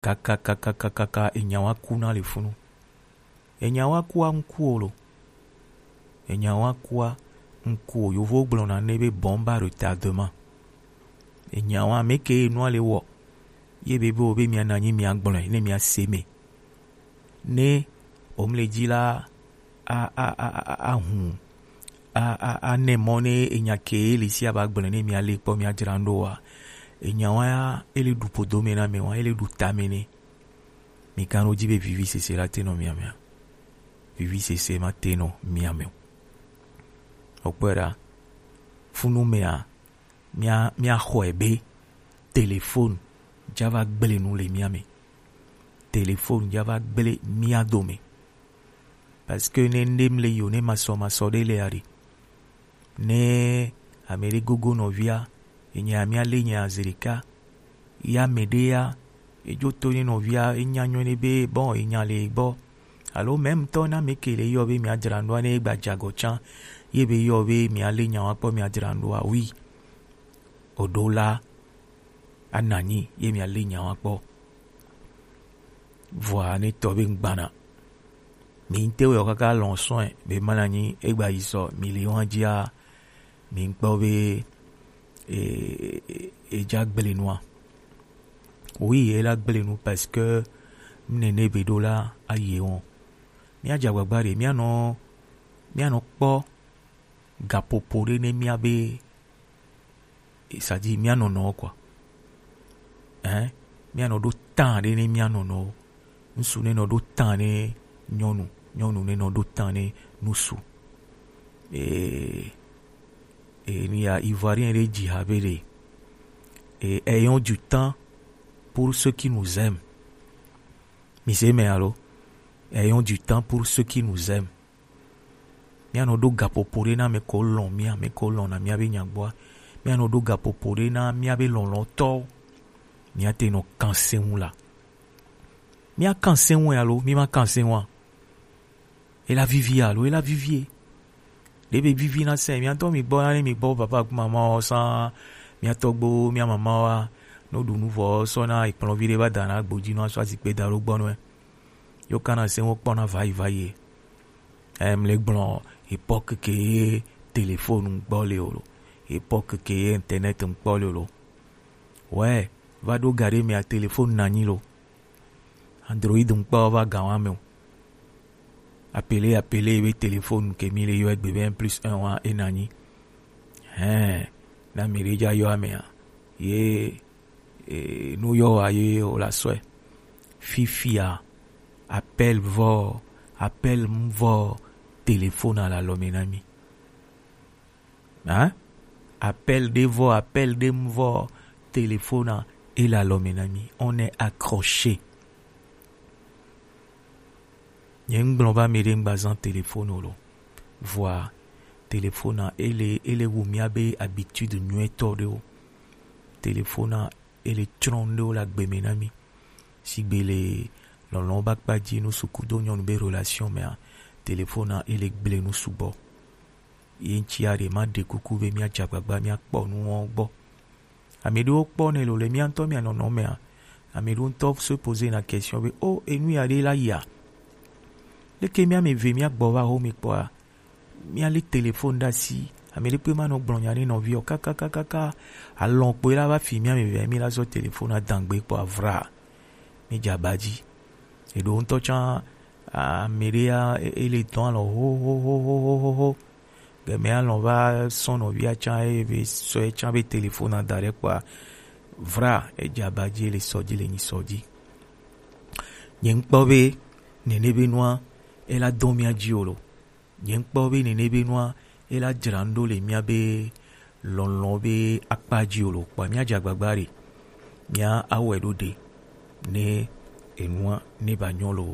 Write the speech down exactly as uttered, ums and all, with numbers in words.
kakakakakaka, enya wa ku na le funu. Enya wa kua ŋku o lo. Enya wa kua ŋku o. Yovo gblɔna ne be bombe à retardement. Enya wa me ke nua le wɔ. Ye be be o be mia na nyi mia gblɔe ne mia se me. Ne o mle dzi la a a a a a hun a a a ne mɔ ne enya ke le si a ba gblɔe ne mia le kpɔ mia dzra ŋɖo wa. Enya wa ya ele ɖu podo me na me wa ele ɖu ta me ne. Mi kan ɖo dzi be vivi sese la te nɔ mia mea. Vivi sese ma te nɔ mia me o. Okpɔe ɖa. Funu mea mia mia xɔe be telefonu dza va gblẽ nu le mia me. Telefonu dza va gblẽ mia dome. Parce que ne ŋɖe mle yi o ne masɔmasɔ ɖe le aɖe. Ne ame ɖe gogo nɔvia, enya mia le nya zi ɖeka. Ya ame ɖe ya, edzo to ne nɔvia, enya nyɔ ne be bon enya le gbɔ. Alo même tɔ na me ke le yɔ be mia dzra ŋɖoa ne gba dze agɔ tsã, ye be yɔ be mia le nya wa kpɔ mia dzra ŋɖoa, oui. O ɖo la, ana nyi ye mia le nya wa kpɔ. Vɔa ne tɔ be ŋgbana. Mi ŋte wɛ o kaka lɔn sɔn be mana nyi egba yi sɔ mi le wan dzia mi ŋkpɔ be e e e dza gblẽ nua. Oui, e la gblẽ nu parce que nene be ɖo la aye wɔn. Mia dza gbagba ɖe mia nɔ mia nɔ kpɔ gaƒoƒo ɖe ne mia be c'est-à-dire mia nɔnɔwo quoi. Hein? Mia nɔ ɖo tan ɖe ne mia nɔnɔwo. Ŋsu ne nɔ ɖo tan ne nyɔnu, nyɔnu ne nɔ ɖo tan ne ŋsu. Et et il y a Ivoirien ɖe dzi ha be ɖe et ayons du temps pour ceux qui nous aiment. Mi se me alo? Ayons du temps pour ceux qui nous aiment. Mia nɔ ɖo gaƒoƒo ɖe na ame ko lɔn mia, ame ko lɔn na mia be nyagbɔa. Mia nɔ ɖo gaƒoƒo ɖe na mia be lɔlɔtɔwo. Mia te nɔ kan se ŋu la. Mia kan se ŋu alo mi ma kan se ŋua? E la vivi alo e la vivi e. Ɖe be vivi na se mia tɔ mi gbɔ na ne mi gbɔ papa ku mama o san mia tɔgbo mia mama wa no ɖu nu vɔ sɔ na ekplɔvi ɖe va da na gbodzi no asɔ azikpe da ɖo gbɔ nɔe. Yo kana se wo kpɔna vayi vayi. Em le gblɔ époque ke ye téléphone gbɔ le o lo. Époque ke ye internet gbɔ le o lo. Ouais, va ɖo ga ɖe mea téléphone na nyi lo. Android ŋkpa va ga wa me o. Appeler appeler be téléphone ke mi le yɔ egbe be un plus un wa e na nyi. Hein, na mi ɖe dza yɔ amea. Ye e, nu yɔ wa ye o la sɔe. Fifia appel vɔ, appel mu vɔ, téléphone à la lɔme na mi. Hein? Appel ɖe vɔ, appel ɖe mu vɔ, téléphone a, e la lɔme na mi. On est accroché. Nye ŋgblɔ va mi ɖe ŋgba zan téléphone o lo. Vɔa, téléphone a, ele, ele wu mia be habitude nyuitɔ ɖewo. Téléphone a, ele tsrɔ̃ nu ɖewo le agbe me na mi. Sigbe le lɔlɔ̃ ba kpa dzi nu suku do nyɔnu be relation mea, téléphone a, ele gble nu sugbɔ. Ye ŋtsia ɖe ma ɖe kuku be mia dze agbagba mia kpɔ nuwo gbɔ. Ame ɖewo kpɔ ne lo le mia ŋutɔ mia nɔnɔ mea, ame ɖewo ŋutɔ se poser na question be, o, enu ya ɖe la yia? Leke mia me ve mia gbɔ va ho mi kpɔa? Mia li téléphone ɖe asi. Ame ɖekpe ma nɔ gblɔ nya ne nɔvi o. Kakakakaka. Alɔn kpoe la va fi mia me ve mi la zɔ téléphone a dangbe kpɔ avra. Mi dze aba dzi. Eɖewo ŋutɔ tsã, ame ɖe ya, e-, ele dɔn alɔ ho, ho, ho. Gɛmɛ alɔ va sɔn nɔvia tsã, eye be sɔe tsã be téléphone a da ɖe kpɔa, vra, edze aba dzi, ele sɔ dzi, le nyi sɔ dzi. Nye ŋkpɔ be, nene be nua, ela dɔn mia dzi o lo. Nye ŋkpɔ be nene be nua, ela dzra nu ɖo le mia be lɔlɔ̃ be akpa dzi o lo. Kpɔa, mia dze agbagba ɖe. Mia awɔe ɖo ɖe. Ne enua, ne ba nyɔ lo.